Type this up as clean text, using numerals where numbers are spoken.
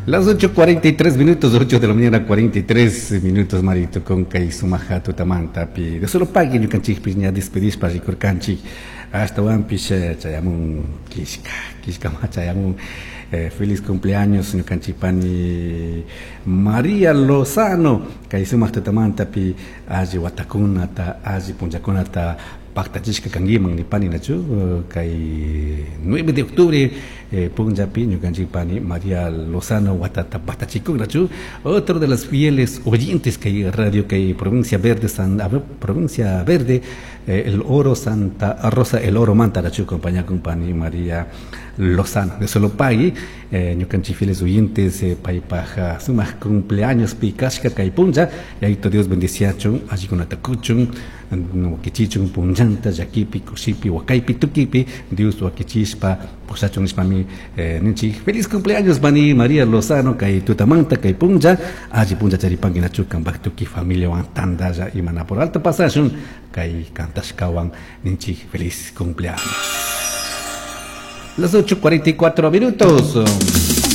Las 8.43 minutos, 8 de la mañana, 43 minutos, Marito, con kay sumaja tutamantapi. De solo pagui ñukanchikpish ña despedishpa rikurkanchik. Ashtawanpish chayamun kishka, kishkama chayamun. Feliz cumpleaños ñukanchik pani María Lozano. Kay sumaq tutamantapi alli watakunata, alli punllakunata pactachishka kankiman nipani nachu kay 9 de octubre punllapi ñukanchik pani María Lozano watata pactachikunachu. Otro de las fieles oyentes kay radio kay provincia verde San, a ver, provincia verde el Oro Santa Rosa el Oro mantarachu compañía con pani María Lozano de solo pagui ñukanchik fieles oyentes paypaj sumaq cumpleaños pi kashka kay punlla yayito Dios bendiciachun allikunata kuchun wakichichun punllanta llakipi kushipi wakaypi tukipi Dios wakichishpa pushachun nishpami ninchik feliz cumpleaños pani María Lozano kay tutamanta kay punlla alli punlla charipankinachu kanpak tukuy familiawan tantalla imana por alto pasashun kay kantashkawan ninchik feliz cumpleaños. Las 8.44 minutos.